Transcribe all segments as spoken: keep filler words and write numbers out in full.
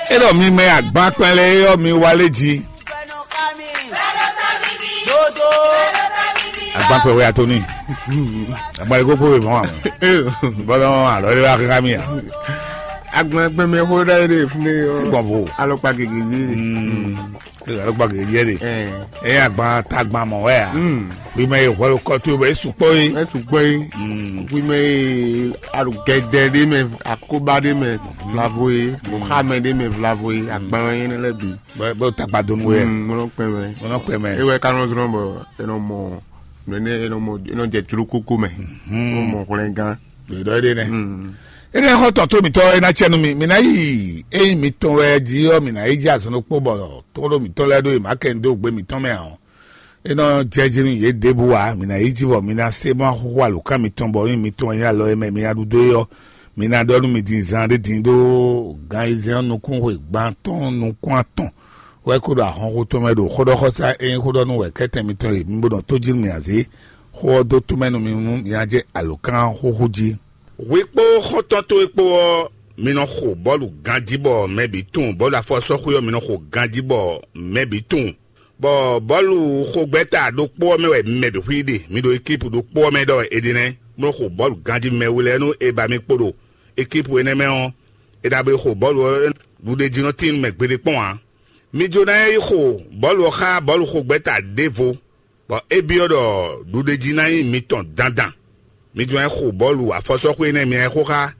É ɖɔ mi mɛ agban kpɛn lɛ́ɛ ɔ́, mi wá lé jí. Agban kpɛn wɛ atoni. Agban lɛ kókó wɛ mɔ. Bɔlɔ alɔ lɛ wá ká mi a. Agban kpɛn mɛ xó ɖa yɛ ɖe fún mi ɔ. Gbɔn vo. Alɔkpa gègé yé. Alɔkpa gègé yɛ ɖe. Ɛ agban tagban mɔ wɛ a. Wi mɛ ye hwɛlu kɔtu bɛ esu kpɔ ye. Esu kpɔ ye. Wi mɛ ye aɖu gɛdɛ ɖe mɛ, akoba ɖe mɛ vlavo ye, xamɛ ɖe mɛ vlavo ye, agban yɛ ne lɛ bi. Bɛ bɛ takpa donu wɛ. Mɔnɔ kpɛ mɛ. Mɔnɔ kpɛ mɛ. Ewɛ kanɔ zɔn bɔ enɔ mɔ nɛnɛ enɔ mɔ enɔ jɛ jlo koko mɛ. Enɔ mɔ hwlɛngán. Ɖo ɖɔ ɖe nɛ. Ene xɔ tɔn to mitɔ ena cɛ nu mi mi na yi eyi mitɔn wɛ ji ɔ mi na yi ji azɔn kpo bɔ tɔn ɖo mitɔn lɛ ɖo yi ma kɛ ndo gbe mitɔn mɛ ɔ. E nɔ jɛ jí nú yě ɖěbǔ ǎ. Mǐ ná yi jí bɔ mi ná se bó ná xúxú alǒkan mitɔn bɔ nyí mitɔn e nyí alɔ e mɛ mi ná ɖu dó é ɔ́, mi ná ɖɔ nú mi din zan ɖé din ɖó gan ayizɛ́n ɔ́ nukún xwe gban atɔ́ɔ́n nukún atɔn wɛ kó ɖo ahɔnxó tɔn mɛ ɖo xóɖɔxɔsá e nyí xóɖɔnú wɛ kɛ́tɛn mitɔn e mi bó nɔ tó jí nú mi azě. Xó ɔ́ dó tó mɛ nú mi nú mi ná jɛ alǒkan xúxú jí. Hwi kpó xɔ́ntɔn towe kpó ɔ́, mi nɔ xo bɔ́lu ganjí bɔ mɛ bǐ tunwun, bɔ́lu afɔsɔ́xwé ɔ́, mi nɔ xo ganjí bɔ mɛ bǐ tunwun. Bɔ bɔ́lu xógbɛ́ta ɖokpó ɔ́ mɛ wɛ mɛ bǐ xwí ɖe; mi ɖo ekipu ɖokpó ɔ́ mɛ ɖɔ wɛ è ɖe nɛ́, bó nɔ́ xo bɔ́lu ganjí mɛ we lɛ́ɛ nú è ba mi kpo ɖo ekipu énɛ́ mɛ ɔ́, è ná bo yi xo bɔ́lu ɔ́ ɖuɖéjínɔtín mɛ gbeɖé kpɔ́n ǎ. Mi jló ná yi xo bɔ́lu ɔ́ xá bɔ́lu xógbɛ́ta ɖěvo, bɔ é byɔ́ ɖɔ ɖuɖéjí ná nyí mitɔn dandan. Mi jló ná yi xo bɔ́lu afɔsɔ́xwé énɛ́ mi ná yi xo xá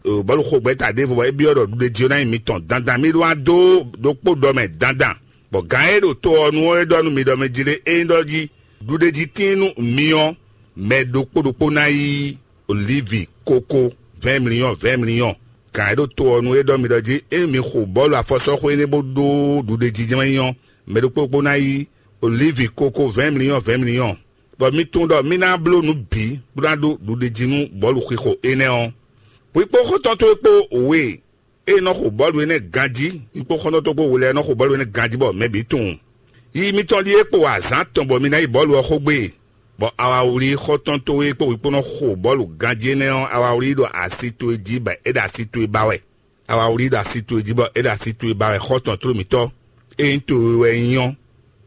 bɔ́lu xógbɛ́ta ɖěvo, bɔ é byɔ́ ɖɔ ɖuɖéjí ɔ́ ná nyí mitɔn dandan. Mi ɖó ná dó ɖokpó ɖɔ mɛ dandan. Bɔ gǎn e ɖo to ɔ́ nu ɔ́ é ɖɔ nú mi ɖɔ mɛ jí ɖé, ényí ɖɔ jí ɖuɖéjí tíin nú mi ɔ́, mɛ ɖokpó ɖokpó ná yí olívi kókó vɛ̌ɛn mliyɔ́n vɛ̌ɛn mliyɔ́n. Gǎn e ɖo to ɔ́ nu é ɖɔ mi ɖɔ jí ényí mi xo bɔ́lu afɔsɔ́xwé énɛ́ bó ɖó ɖuɖéjí jɛ́n wɛ nyí ɔ́, mɛ ɖokpó ɖokpó ná yí olívi kókó vɛ̌ɛn mliyɔ́n vɛ̌ɛn mliyɔ́n. Bɔ mi tunwun ɖɔ mí ná bló nǔ bǐ bó ná ɖó ɖuɖéjí nú bɔ́lu xixo énɛ́ ɔ́. Hwi kpó xɔ́ntɔn towe kpó we e nɔ xo bɔ́lu énɛ́ ganjí, hwi kpó xɔ́ntɔn towe kpó we lɛ́ɛ nɔ xo bɔ́lu énɛ́ ganjí bɔ mɛ bǐ tunwun. Yiyi mitɔn ɖíe kpo wa azǎn tɔn bɔ mi ná yi bɔ́lu ɔ́ xó gbé, bɔ awawlí xɔ́ntɔn towe kpó hwi kpó nɔ xo bɔ́lu ganjí énɛ́ ɔ́, awawlí ɖo asi towe jí bɔ é ɖo asi towe ba wɛ. Awawlí ɖo asi towe jí bɔ é ɖo asi towe ba wɛ xɔ́ntɔn tló mǐtɔn. Ényí towe wɛ nyí ɔ́,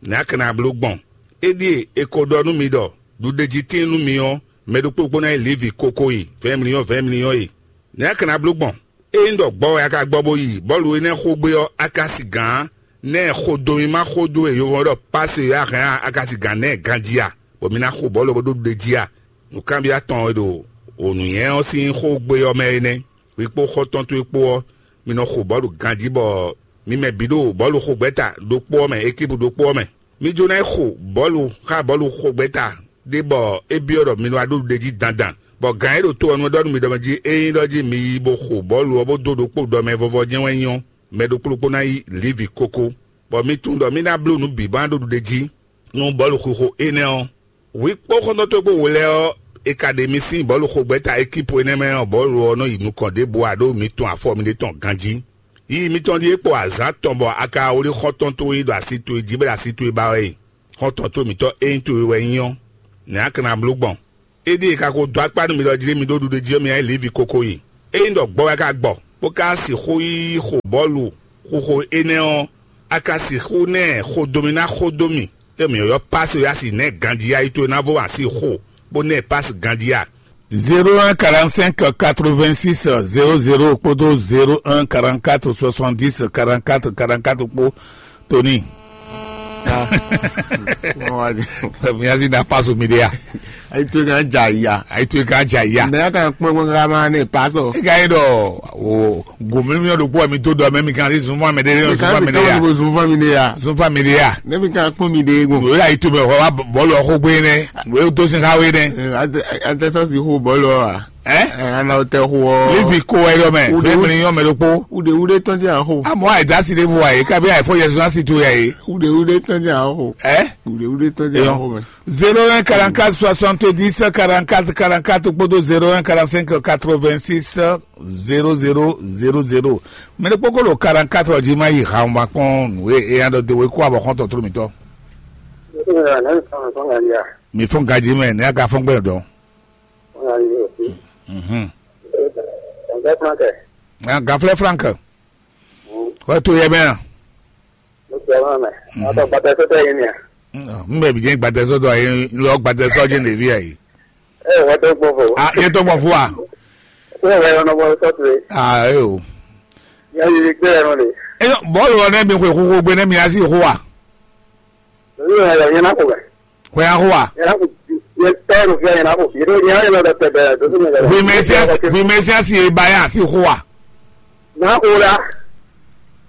nɛ̌ a ka ná bló gbɔn? É ɖíe è ko ɖɔ nú mi ɖɔ ɖuɖéjí tíin nú mi ɔ́, mɛ ɖokpó ɖokpó ná nyí Levi koko e vɛ̌ɛn mliyɔ́n vɛ̌ɛn mliyɔ́n e. Nɛ̌ a ka ná bló gbɔn? Ényí ɖɔ gbɔ wɛ a ka gbɔ bó yi bɔ́lu énɛ́ xó gbé ɔ́, a ka sigǎn nɛ́ xodó mímá xó dó e yovɔn ɖɔ pase e a hɛn a ka sigǎn nɛ́ ganjí a, bɔ mi ná xo bɔ́lu ɔ́ bó ɖó ɖuɖéjí a? Nǔkanbyɔ́ atɔn e ɖo wǒnúnyɛ ɔ́ sín xó gbé ɔ́ mɛ é nɛ́. Hwi kpó xɔ́ntɔn towe kpó ɔ́, mi nɔ xo bɔ̌lu ganjí bɔ mi mɛ bǐ ɖo bɔ̌lu xo gbɛ́ta ɖokpó ɔ́ mɛ, ekipu ɖokpó ɔ́ mɛ. Mi jló ná yi xo bɔ̌lu xá bɔ̌lu xo gbɛ́ta ɖé bɔ é byɔ́ ɖɔ mi nɔ wá ɖó ɖuɖéjí dandan, bɔ gǎn e ɖo to ɔ́ nu ɔ́ ɖɔ nú mi ɖɔ mɛ jí ényí ɖɔ jí mi yi bo xo bɔ̌lu ɔ́ bó dó ɖokpó ɖɔ mɛ vɔvɔ jɛ́n wɛ nyí ɔ́, mɛ ɖokpó ɖokpó ná yí Livi kókó, bɔ mi tunwun ɖɔ mí ná bló nǔ bǐ bó ná ɖó ɖuɖéjí nú bɔ̌lu xixo énɛ́ ɔ́. Hwi kpó xɔ́ntɔn towe kpó we lɛ́ɛ ɔ́, è ka ɖe mi sín bɔ̌lu xo gbɛ́ta ekipu énɛ́ mɛ ɔ́, bɔ̌lu ɔ́ nɔ yi nukɔn ɖěbǔ ǎ ɖó mi tunwun afɔ miɖée tɔn ganjí. Yiyi mitɔn ɖíe kpo azǎn tɔn bɔ a ka wlí xɔ́ntɔn towe yi ɖo asi towe jí bɔ é ɖo asi towe ba wɛ e. Xɔ́ntɔn towe mǐtɔn ényí towe wɛ nyí ɔ́, nɛ̌ a ka ná bló gbɔn? Éɖíe è ka ko dó akpá nú mi ɖɔ jí mi ɖó ɖuɖéjí ɔ́, mi ná yi Livi kókó yi. Ényí ɖɔ gbɔ wɛ a ka gbɔ, bó ka sixú yi xo bɔ́lu xixo énɛ́ ɔ́, a ka sixú ná ɛ xo dó mì ná xo dó mì, é mǐ ylɔ́ Pasi ɔ́ yi asi nɛ̌ ganjí yá yi towe ná vo wǎn sín xo, bó ná ɛ Pasi ganjí a? Zéro un quarante-cinq quatre-vingt-six zéro zéro kpódó zéro un quarante-quatre soixante-dix quarante-quatre quarante-quatre kpó Tony. Miazi na paso mi de ya. Ayi to kan ja ya. Ayi to kan ja ya. Mɛ ya kan kpɔn kpɔn ka ma ne paso. E ka yi dɔ o gomimi o ɖokpó mi to dɔ mɛ mi kan si sunfún mi de yɔ sunfún mi de ya. Sunfún mi de ya. Sunfún mi de ya. Ne mi kan kpɔn mi de go. O y'a yi to mɛ wa bɔlu ɔkɔ gbe nɛ. O ye to sin ka we nɛ. An tɛ sɔn si xo bɔlu wa. Ɛ? Ana o tɛ xo ɔ. Livi ko wɛ dɔ mɛ. Fɛn mi ni yɔ mɛ ɖokpó. Wuɖewuɖe tɔn jɛ axo. Amɔ ayi dasi de vo ayi kabi ayi fɔ yɛsu asi to ya ye. Wuɖewuɖe tɔn jɛ axo. Ɛ? Wuɖewuɖe tɔn jɛ axo mɛ. Zéro un quarante-quatre soixante-dix quarante-quatre quarante-quatre kpódó zéro un quarante-cinq quatre-vingt-six zéro zéro zéro zéro. Mɛ ɖokpó ko ɖo quarante-quatre ɔ́ jí ma yi ha ma kpɔn nǔ e eya ɖɔ de we kó abɔ xɔntɔn tló mitɔ. Mi fún gají mɛ ní a ka fún gbɛ dɔn. Mhm. Gaflɛ Frank. Kɔ to yɛ mɛ a? Mo sɔ ma mɛ. Atɔ gbata sɔtɔ yɛ ni a? N bɛ bi jɛ gbata sɔtɔ yɛ lɔ gbata sɔ jɛ ɖevi ayi. Ɛ wɔ to gbɔ fo. A yɛ tɔ gbɔ fo a? Ko wɛ yɔ nɔ bɔ sɔtɔ ye. A e o. Yɛ yi gbɛ yɛ nɔ de. E bɔlu ɔ ne mi xwe xo gbe ne mi asi xo wa. Lórí ọ̀rọ̀ yẹn náà kò bẹ̀. Xwe a xo wa. Yẹn náà kò yẹn tẹ́ ẹ̀rù fẹ́ yẹn náà kò fi. Yẹn náà yẹn lọ́dọ̀ tẹ̀ bẹ̀rẹ̀ tó sì mọ̀. Hwi Mesiasi, hwi Mesiasi e ba ya si xo wa. Náà kò la.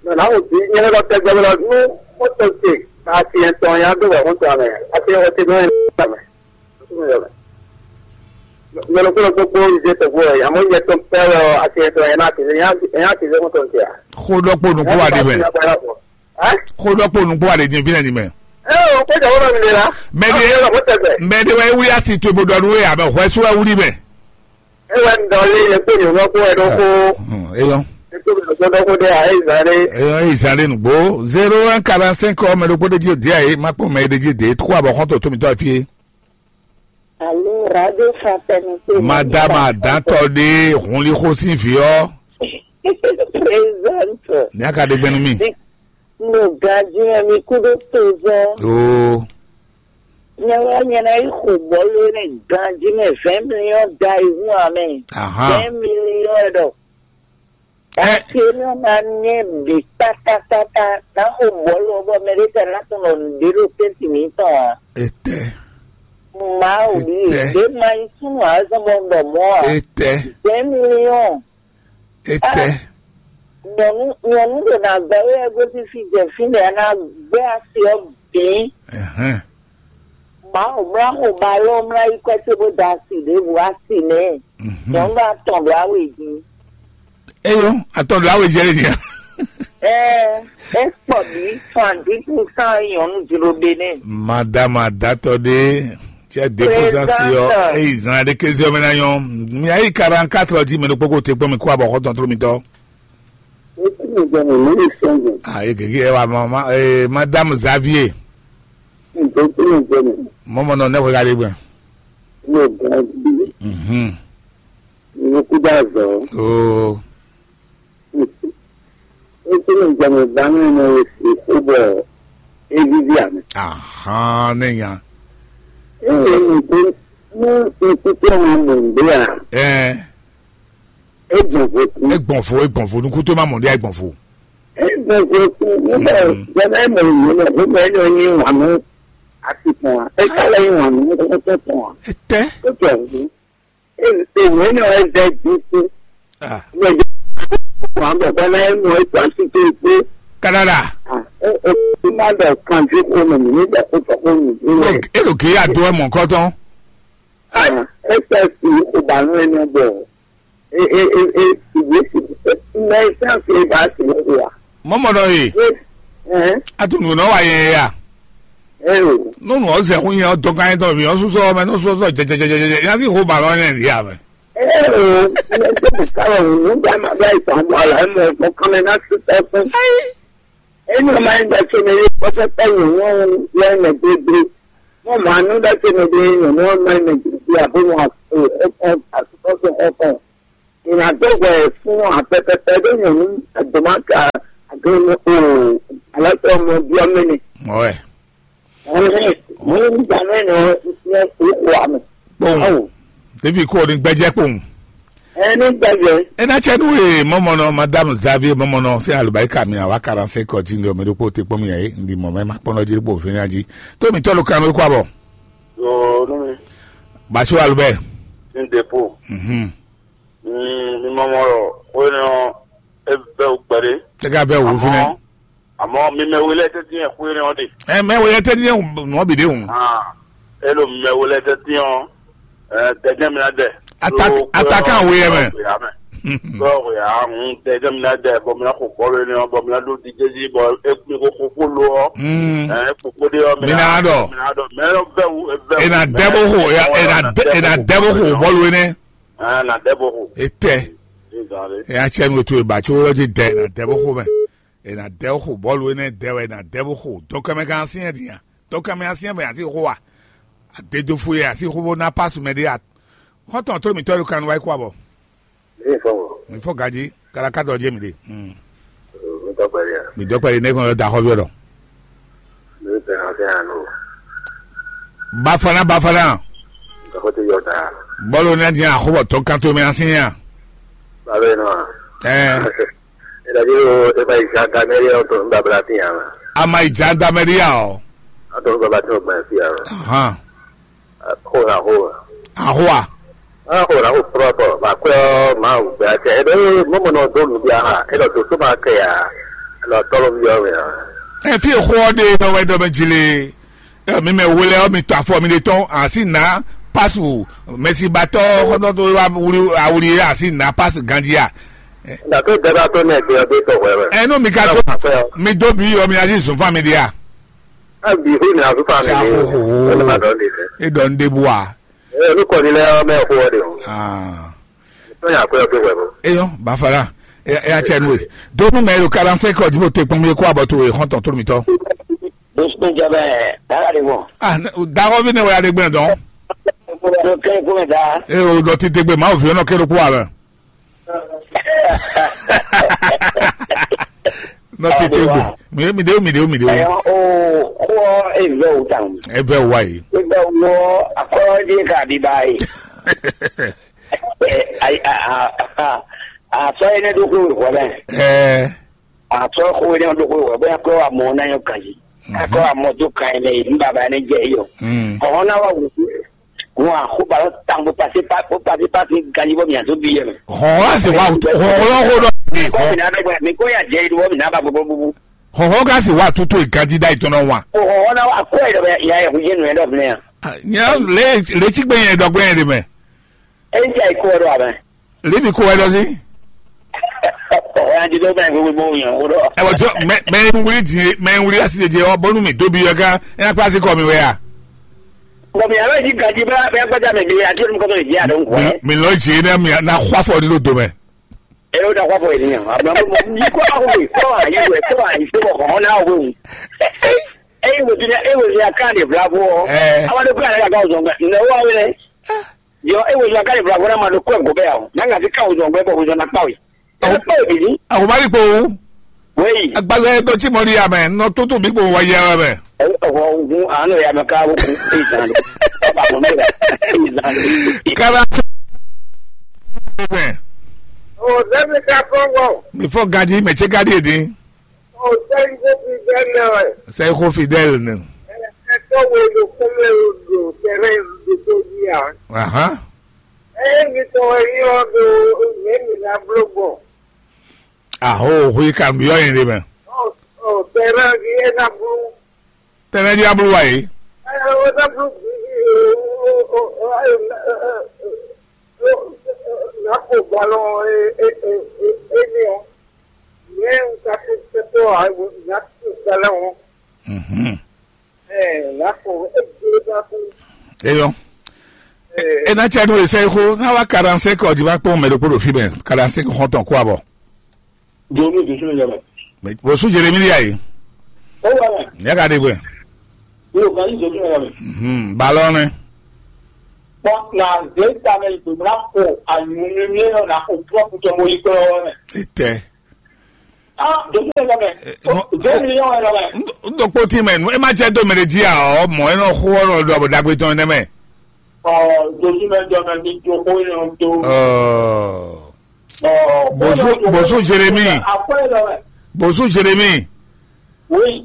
Náà kò fi yẹn lọ́dọ̀ tẹ̀ gbẹ̀rẹ̀ lọ nú mọ́tò ṣe. Àti ẹ̀tọ́ yẹn á dó wà fún tọ́ àmì. Àti ọtí náà yẹn náà mẹ́. Yẹn ló kúrò gbogbo ìdí ẹ̀tọ́ gbọ́ ẹ̀. Àmọ́ yẹn tó ń pẹ́ lọ àti ẹ̀tọ́ yẹn náà ti lé yẹn á ti lé mọ́tò ń tẹ̀ à. Xó ɖɔkpó nukú wa ɖi mɛ. Xó ɖɔkpó nukú wa ɖe din fínɛ́ din mɛ. Ɛ o, kó jɛ wónɔ mi ɖe la. Mɛ ɖe, mɛ ɖe wɛ wuli asi to bo ɖɔ nú we abɛ hwɛ sú wɛ wuli mɛ. E wɛ ŋdɔ lé le kpé nyɔ̌nu kó wɛ ɖó kó. Eyɔ. E kó mi ɖɔ kó ɖó kó ɖe a, e zan ɖe. Eyɔ, e zan ɖe nugbo. Zéro un quarante cinq ɔ mɛ ɖokpó ɖe jí o dia e ma kpɔn mɛ ɖe jí de kó abɔ xɔntɔ tó mi tɔ fie. Alo, radio fraternité. Madame Adantɔ ɖe hunlixo sín vǐ ɔ́. Présente. Ní a ka ɖe gbɛnu mi. Ɖo ganjí mɛ mi kú ɖó tozɔ. Oo. Nyɛ wɛ nyɛ ná yi xo bɔlu ne ganjí mɛ vingt millions da yi hu amɛ. Ahan. Vingt millions ɖɔ. Ɛ. Ati mi ɔ́ ná nyɛ bǐ kpátákpátá ná xo bɔlu ɔ́ bɔ mɛ ɖé tɛ ná tunɔ nǔɖé ɖo tɛ́ntin mǐtɔn ǎ. Etɛ. Mawu ɖi Etɛ. Ɖě ma nyí súnnu ǎ zɔ́n bɔ un ɖɔ mɔ̌ ǎ. Etɛ. Vingt millions. Etɛ. Nyɔ̌nu nyɔ̌nu ɖo ná gbɛ wé ɛ gosín fí jɛ fínɛ́ ná gbé asi ɔ́ bǐ. Ɛhɛn. Mawu mlá xo ba lɔ mlá yi kwɛ́ cóbó da asi ɖěbǔ asi nɛ́. Mhm. Nyɔ̌nu atɔn ɖo awe jí. Eyo, atɔn ɖo awe jɛ ɖe nya. Ɛ ɛ kpɔ bǐ soixante-dix pour cent nyɔ̌nu jló ɖe nɛ. Madame adatɔ ɖe, cɛ de pour cent si ɔ, eyi zan ɖe kéze ɔmɛ na nyɔ. Mi ayi quarante-quatre ɔ jí mɛ ɖokpó ko te kpɔn mi kó abɔ xɔtɔn tló mitɔ. Ayi gege ɛ wa mama, eh, Madame Xavier. Mɔmɔ nɔ ne xwe ka ɖe gbɛ. Mhm. Nukúdazɔ. Oo. Esi ne jɛmɛ ba ne ne si xubɔ evivi ame. Ahan ne nya. Eye nukú nu nukútɔ ma mɔ nde a. Ɛ. Egbɔn vo kun. Egbɔn vo, egbɔn vo, nukútɔ ma mɔ nde a egbɔn vo. Egbɔn vo kun. Nígbà jɛmɛ mɔ ìlú náà, nígbà yẹn ni wọ́n ní wànú àti pọ̀n. Ẹ kálẹ̀ yín wànú kókó pọ̀n. Etɛ. Ó tẹ̀ wọ́n. Èmi náà ẹ jẹ́ dínkù. Ah. Wọ́n bẹ̀ bá náà mọ̀ ẹ́ tó àsìkò ìpè. Canada. Ẹ ẹ tó má bẹ̀ kàn sí kó mọ̀ mí nígbà tó sọ fún mi. Elo ke ya do ẹ mọ kọtọn. Ẹ tẹ̀ sí ìbànú ẹni ọgbọ̀. Ẹ ẹ ẹ ẹ ìwé sì ẹ ẹ sáfì ẹ bá sì ń wà. Mọmọ dɔ ye. Ẹ ẹ. Atunu nɔ wa yɛ ya. Ẹ o. Nunu ɔzɛ kun yɛ ɔdɔkan yɛ tɔ mi ɔsusɔ mɛ n'ɔsusɔ jɛjɛjɛjɛ yasi ho ba lɔ yɛ ya mɛ. Eo, mɛ tó bùkálọ̀ òun ló ń bá máa bá ìtàn ọmọ àlá mọ ẹ̀fọn kan mẹ́ náà sí ẹkún. Ẹni ọmọ ayé gba ṣe mi yóò kọ́ sẹ́pẹ́ yìí wọ́n ń lọ ẹ̀mẹ̀ gbégbé. Wọ́n máa nú dá ṣe mi dé èèyàn ní wọ́n máa ń mẹ̀ gbégbé àbó wọn ẹ̀fọn àtúntọ́sọ ẹ̀fọn. Ìrìnàjò wẹ̀ fún àpẹpẹpẹ ló yàn ní àgbọ̀mọ́kà àgbẹ̀mọ́ òòrùn aláṣẹ ọmọ bí ọmọ ni. Mọ ẹ. Ẹ̀hìn, ní ìgbà náà ni wọ́n ti fi ẹ̀ kó wà mí. Kpɔn. Awo. Ɖevi ko ni gbɛjɛ kpɔn. Ẹ ní gbẹ̀jẹ̀. Ena tsɛ nu ye mɔmɔnɔ madame Xavier mɔmɔnɔ se alubarika mi awa quarante-cinq kɔ dzi ŋgɔ mi ɖokpó te kpɔn mi yɛ ndi mɔ mɛ ma kpɔnɔ dzi ɖokpó fɛn ya dzi. To mi tɔlu kan mi kó abɔ. Yo, nu mi. Basu alubɛ. Sin depo. Mhm. Mm, mi mɔmɔ lɔ, o ne ɔ, e bɛ o gbɛde. Tɛgɛ bɛ o fɛnɛ. Àmọ́ mi mɛ wele tɛ tiɲɛ xwé ne ɔ de. Ɛ mɛ wele tɛ tiɲɛ nɔ bi de o. Ah, elo mi mɛ wele tɛ tiɲɛ ɔ, ɛ dɛgɛ mi na dɛ. Attaque, attaquant wo yɛ mɛ. Bɔ ya hun dɛgɛ mi na dɛ bɔ mi na ko bɔlu ne ɔ bɔ mi na do di jezi bɔ e mi ko ko ko lo ɔ. Hmm. Ɛ koko de ɔ Mi na dɔ. Mi na dɔ mɛ lɔ bɛ wu bɛ wu. E na dɛ bo xo, e na dɛ, e na dɛ bo xo bɔlu ne. Ɛ na dɛ bo xo. Etɛ. Ezale. E ya tsɛ nu to e ba tso lɔ dzi dɛ, e na dɛ bo xo mɛ. E na dɛ bo xo bɔlu ne dɛ wɛ e na dɛ bo xo. Dɔkɛmɛ kan si yɛ diya. Dɔkɛmɛ asi yɛ mɛ asi xo wa. Adedo fo yɛ asi xo bo na pasu mɛ de a. Xɔtɔn to mi tɔ do kan wa yi kó abɔ. Mi fɔ gaji kala ka dɔ je mi de. Hmm. Tɔgbɛli a? Mi dɔkpɛli ne kɔn da xɔ bi ɔdɔ. Mi bɛ na fɛ ano. Bafana, bafana. Tɔgɔ ti yɔ da. Bɔlu ne di axɔ bɔ tɔ kan to mi asin ya. Balo no. Eh. Ila di o e ba ija da meri o to n babla ti ya. Ama ija da meri ya o. A to n babla ti o gba ti ya. Aha. Xo na xo. Axɔ a? A xo na xo prɔpɔ ba kwɛ ɔ ma gbɛ tɛ e be mo mo no do nu bia ha e do to so ma kɛ ya. E do tɔlɔ mi yɔ mi. E fi xɔ de nɔ wɛ dɔ mɛ jile. E mi mɛ wele ɔ mi to afɔ mi de tɔn asi na pasu mɛsibatɔ xɔtɔtɔ wa wuli awuli asi na pasu gandia. Na to dada to ne gbe ɔ be tɔ wɛ wɛ. Enu mi ka do mi do bi yɔ mi asi zun fa mi dia. A bi hu na zufa mi ni. Ena dɔn de fɛ. E dɔn de bua. E nu kɔ ni lɛ mɛ ko de o. Ah. To ya ko de wɛ bo. Eyo bafala. E ya cɛ nu e. Donu mɛ lo kalan se kɔ jibo te kpɔn mi ko abɔ to e hɔn tɔn to mi tɔ. Bosco jabɛ dara de bɔ. Ah, dawɔ bi ne wɛ ya de gbɛ dɔn. Do kɛ ko mɛ da. E o dɔ ti te gbɛ ma o fi nɔ kɛ lo ko abɛ. Nɔ tete gbe. Mi mi de mi de mi de. Ɛ o ko e vɛ o tan. E vɛ wa yi. E vɛ o akɔ de ka di ba yi. Ɛ ayi a a a a sɔ ye ne do ko wɔ bɛ. Ɛ a sɔ ko ye ne do ko wɔ bɛ ko wa mɔ na yɔ kaji. Akɔ wa mɔ do kan ye ne yi baba ne jɛ yi o. Mm. Ɔhɔn na wa wu. Wọn a xo ba lɔ tan bó pase pa bó pase pa fi ganji bɔ mi a to bi yɛ mɛ. Hɔn a se wa hɔn hɔn hɔn dɔ. Kɔ mi na bɛ gbɛ mi ko ya jɛ idu bɔ mi na ba gbogbo bubu. Hɔn hɔn ka se wa tutu e ganji da itɔn na wa. O hɔn hɔn na wa ko yɛ dɔ bɛ ya yɛ kun jɛ nu yɛ dɔ filɛ yan. Nya le le tsi gbɛ yɛ dɔ gbɛ yɛ de mɛ. E n tɛ ko dɔ abɛ. Levi ko wɛ dɔ si. Ɔ ya di dɔ bɛ gbogbo bɔ yan o dɔ. Ɛ wɔ jɔ mɛ mɛ wuli di mɛ wuli asi jɛ ɔ bɔnu mi dobi yɔ gan ɛ na kpa si kɔ mi wɛ ya. Bɔn mi yàrá yìí gàdí bá bá gbájà mi bí àti olùkọ́ mi yìí àdó ń kọ́ ẹ́. Mi lɔ dzi ne mi na xɔ afɔ ɖi ɖo do mɛ. Ẹ yóò da kó afɔ yìí nìyẹn. Àbúrò mi kó àwọn mi kó àyè wẹ̀ kó àyè sí ọkọ̀ ọ̀hún náà wẹ̀ wù. Ẹ yìí wòtí ní ẹ wòtí ní akáàdì ìbúra fún ọ. Ẹ. Àwọn adé kúrò àlẹ́ àgbà ọ̀zọ̀ gbẹ. Ǹjẹ́ ó wá wẹ̀rẹ̀? Yọ ẹ wòtí ní akáàdì ìbúra fún ẹ máa lo kó ẹ̀gọ́ bẹ́ẹ̀ o. Náà kàfi ká ọ̀zọ̀ gbẹ bọ̀ ọ̀zọ̀ náà pàwé. Ẹ pàwé bìí. Àwọn bá rí po o. Wéyí. Agbára ẹ tó tí mo rí àmẹ, nọ tó tó bí kò wá yẹ ẹ mẹ. Ọwọ́ ogun àánú ẹ̀ àmì ká ogun ẹ̀ zan lọ. Ọba àwọn mẹ́ta ẹ̀ zan lọ. Kára. O dẹ́bi ká kọ́ngọ̀. Mi fọ́ gadi, mẹ tse gadi èdè. O sẹ́yìn kó fi bẹ́ẹ̀ lẹ ẹ̀. Sẹ́yìn kó fi dẹ́ẹ̀lì ni. Ẹ tó wo lo kúnlẹ̀ odò tẹ̀rẹ́ ìlú tó yí à. Aha. Ẹ mi tọ́ ẹ yí ọ́ do ẹ̀ mi ná bló gbọ̀. Aho hui kan yɔ yin ɖe mɛ. Tɛnɛ ɖi ablu wa yi. Mhm. Eyɔ. Ena tsa nu esa yi xo na wa quarante-cinq ɔdi va kpɔn mɛ ɖokpó ɖo fi mɛ quarante-cinq xɔntɔn kó abɔ. Jɔnu jɔnu yɛ mɛ. Mɛ bɔsu Jeremi ya yi. O wa mɛ. Ya ka de gbɛ. Yóò ka yi jɔnu yɛ mɛ. Mhm. Balɔ nɛ. Bɔn na ze ta mɛ yi gbɛmla ko anyumimi yɔ na ko pɔpu tɔ mo yi kplɔ wɛ mɛ. Etɛ. Ah, jɔnu yɛ mɛ. Jɔnu yɛ mɛ. N do kpoti mɛ nu e ma jɛ do mɛ de di a ɔ mɔ e nɔ xo ɔ nɔ do abɔ dagbe tɔn nɛ mɛ. Ɔ jɔnu mɛ jɔ mɛ mi jo ko yɛ do. Ɔ. Bozu bozu Jeremi. Bozu Jeremi.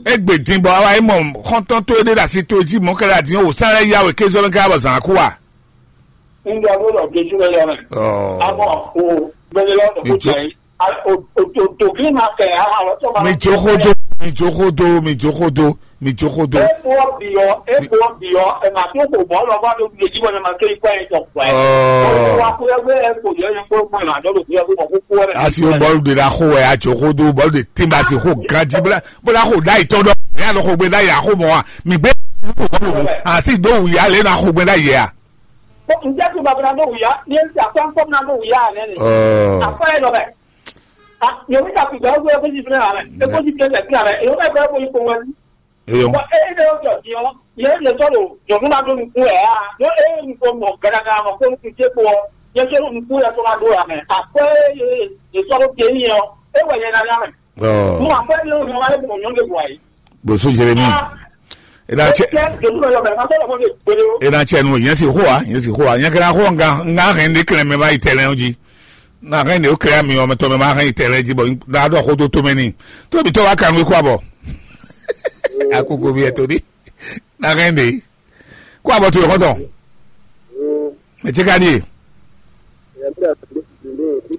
Egbe din bɔ awa emɔ xɔntɔn to ede ɖe asi to edzi mɔ kɛlɛ adi o sa lɛ yawe kezɔ mɛ kɛ abɔ zan aku wa. Mi jo xodo, mi jo xodo, mi jo xodo, mi jo xodo, mi jo xodo. Mi jo xodo. Epo biyɔ, epo biyɔ, ema tó kò mɔ lɔ bá tó gbèsè wọn ma ké ikú ẹ̀ tọ̀ pẹ́. Ɔ. Wa kú ẹgbẹ́ ẹ̀ kò yẹ ẹ̀ kó mọ ìlànà ló kú ẹgbẹ́ mọ̀ kó kú ẹ̀. Asi o bɔlu de la xo wɛ a jo xodo bɔlu de timba si xo ganji bla bla xo da itɔ dɔ. Ya lɔ xo gbe da ya xo mɔ wa. Mi gbe asi do wu ya le na xo gbe da yɛ a. Ǹjẹ́ tó bàbá náà ló wù yá? Ní ẹ̀ ń tà pẹ́ńpọ́n náà ló wù yá rẹ̀ ni. Ɔ. Àpẹẹrẹ lọ bẹ̀. Yòówù ká fi gbà ó gbé ẹgbẹ́ ti fúnra rẹ̀, ẹgbẹ́ ti fúnra rẹ̀, yòówù ká gbé ẹgbẹ́ ipò wọn. Eyɔn. Wọ́n ẹ ẹ lọ́wọ́ jọ di wọn, yẹ ẹ lè tọ́ lò, jọ̀dún náà tó nukú ẹ̀ á, yọ ẹ ẹ nukú mọ̀ gàdàgà mọ̀ kó nukú jẹ́ kó ọ, yẹ kó nukú yẹ kó máa dó ra mẹ́. Àpẹẹrẹ yẹ ẹ sọ́dọ̀ kẹ́yìn ọ, ẹ wẹ̀ yẹn náà yá mẹ́. Ɔ, Mo wà pẹ́ lórí ọmọ ayé mọ̀ nyọ́ lè wà yìí. Bosu Jeremi. Ah, Ena cɛ, ẹ jẹ́ ìdòwú lọ yọ bẹ̀rẹ̀ máa tọ́lọ̀ fún mi pẹ̀lú. Ena cɛ nu yɛn si xo wa, yɛn si xo wa. Yɛn kɛra xo nga nga hɛn ne kɛlɛ mɛ ma yi tɛlɛ ji. Na hɛn ne o kɛlɛ mi ɔmɛ tɔ mɛ ma hɛn yi tɛlɛ ji bɔ da dɔ xo to to mɛ ni. To bi tɔ wa kan wi kɔ abɔ. Akoko bi ɛto di. Na hɛn de. Kó abɔ to yɔkɔtɔ. Mɛ tse ka ɖie?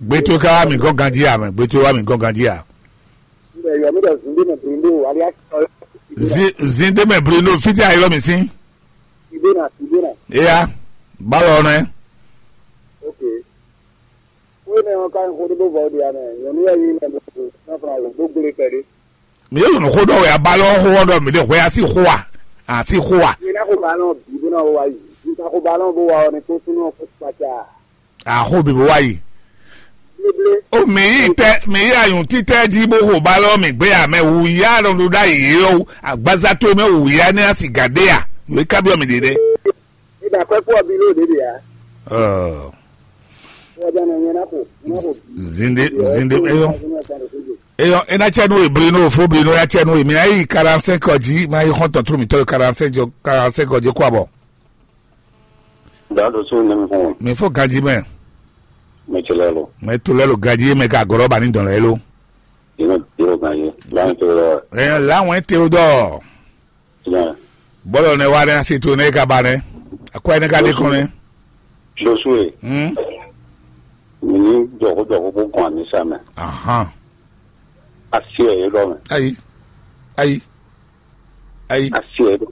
Gbɛtɔ ka wa mi gɔn ganji ya mɛ. Gbɛtɔ wa mi gɔn ganji ya. Zin zin de mɛ Bruno fiti ayi lɔ mi sin. Eya, balɔ nɛ. Wénɛ́ ɔ́ ka nyí xó ɖé bó vɔ ɖi ame, nyɔ̌nu wɛ nyí mɛ bó fún afɔ alo dó gblé kpɛɖé. Mi yóò nɔ xó ɖɔ wɛ abalɔ xó ɔ́ ɖɔ mi ɖe hwɛ asi xó a? Asi xó a? Mi ná xó balɔn bǐ bó ná wá yi. Mi ka xó balɔn bó wá ɔ ní kó súnú ɔ́ kó kpata. Axó bǐ bó wá yi. Bléblé. O mi yi tɛ mi yi ayun títɛ jí bó xó balɔ mi gbé a mɛ wǔ yá nɔ ɖo ɖ'ayǐ yé ɔ́ agbaza tó mɛ wǔ yá ní asi gǎ ɖé a? Nǔ e ka byɔ́ mi ɖe ɖe. Ida kwɛ kpɔ bi ló ɖe ɖe ya. Ɔ. Wɔ jana nyɛ na ko. Zinde zinde eyɔ. Eyɔ ena cɛ nu ebli no fo bli no ya cɛ nu emi ayi quarante-cinq ɔ dzi ma yi xɔntɔn tro mi tɔ quarante-cinq jɔ quarante-cinq ɔ dzi kɔ abɔ. Dado so ne mi fún. Mi fo ganji mɛ. Mi tsi lɛ lo. Mɛ to lɛ lo ganji mɛ ka gɔrɔ ba ni dɔn lɛ lo. Yìí mi yóò gan yé. Láwọn tó lọ. Ɛ láwọn te o dɔ. Yẹn. Bɔlɔ ne wa ne asi to ne ka ba ne. Akɔ ne ka de kɔn ne. Josué. Hmm. Mi ní jɔ̀kú jɔ̀kú bó kàn ní sá mɛ. Ahan. Asi ẹ̀ yé dɔ mɛ. Ayi. Ayi. Ayi. Asi ẹ̀ dɔ.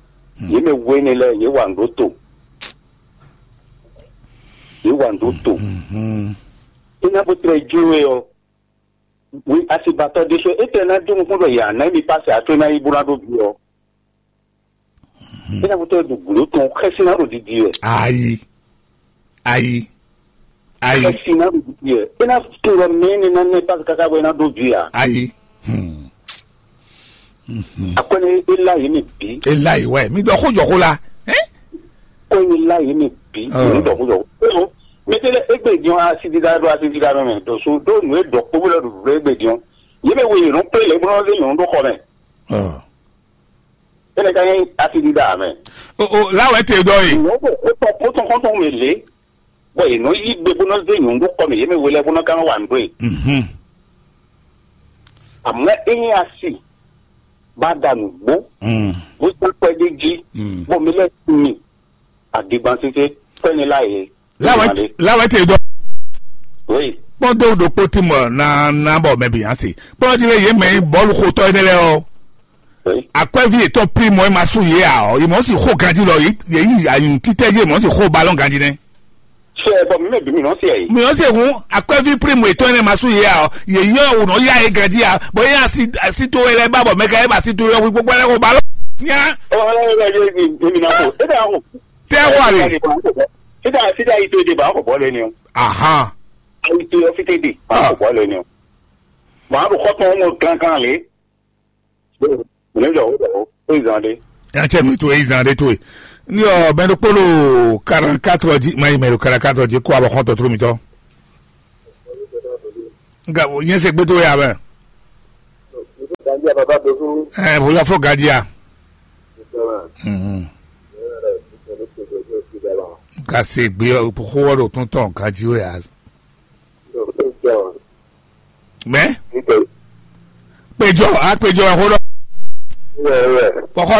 Yé mɛ wé ne lɛ yé wà ń ɖó to. Yé wà ń ɖó to. Mhm. Iná bó tẹ jó we ɔ. Wi asibatɔ ɖé sɔ étɛ́ ná dó nukún ɖɔ yě ná mi pase ato ná yi bó ná ɖó bi ɔ. Étɛ́ ná kútó ɖo gǔdo tɔn xɛsi ná ɖo didi wɛ. Ayi. Ayi. Ayi. Xɛsi ná ɖo didi wɛ. É ná tún ɖɔ mɛ ní ná nɛ pase káká bɔ é ná ɖó bi a. Ayi. Hmm. Mhm. Akwɛ́nɛ é lá yě mɛ bǐ. E la yi wɛ mi ɖɔ xó jɔ xó la. Hein? Kɔnyi la yi mi bi Ah. Ni dɔ kujɔ. Eo, mi te lɛ egbe diɔn asi dida ɖo asi dida nɔ mɛ ɖo so ɖo nu e ɖɔ kpó bó lɛ ɖo ɖo egbe diɔn. Ye mɛ wo ye nɔ kple lɛ bó nɔ zé nyɔnu ɖo xɔ mɛ. Ɔ. Ene ka nyɛ asi dida mɛ. O o la wɛ te dɔ ye. Nyɔnu ɖo kó tɔ kó tɔn kɔntɔn mɛ lé. Bɔ ye nɔ yi gbe bó nɔ zé nyɔnu ɖo xɔ mɛ ye mɛ wo lɛ bó nɔ ka nɔ wa nǔ ɖo ye. Mhm. Amɔ e nyɛ asi ba da nǔgbó. Mm. Bó sɔ́ kpɛɖé jí. Mm. Bɔ mi lɛ mi adigbansese kpɛnyi la ye. Lawɛ lawɛ te dɔ. Oui. Kpɔdo ɖokpo ti mɔ na na bɔ mɛ bi ansi. Kpɔdo ti le ye mɛ bɔlu xotɔ yi ne lɛ ɔ. Oui. Akwɛvi etɔn pli mɔ ma su ye a ɔ. Imɔ si xo ganji lɔ ye yi ayi titɛ ye mɔ si xo balɔn ganji nɛ. Sɛ bɔ mi mɛ bi mi nɔ se yi. Mi ɔ se hun akwɛvi pli mɔ etɔn ne ma su ye a ɔ. Ye yɔ o nɔ ya ye ganji a. Bɔ ye asi asi to wɛ lɛ ba bɔ mɛ ka ye ba asi to yɔ gbogbo lɛ ko balɔn. Nya. Ɔ ɔ ɔ ɔ ɔ mi na ko e da ko. Tɛ wale. Sida sida yi to de ba ko bɔ lɛ ni o. Aha. Ayi to yɔ fite de ba ko bɔ lɛ ni o. Maa ɖo xɔ tɔn mɔ kankan le. Mɛ jɔ o jɔ o ezan de. Yan cɛ mi to ezan de to ye. Ni ɔ mɛ ɖokpolo quarante-quatre ji ma yi mɛ ɖo quarante-quatre ji kó abɔ xɔntɔ tro mitɔ. Nga nyɛ se gbedo ya bɛ. Ɛ bolo afɔ gadia. Mhm. Ka se gbe xowɔ ɖo tɔntɔn gaji o ya. Mɛ pejɔ a pejɔ xo ɖɔ. Kɔkɔ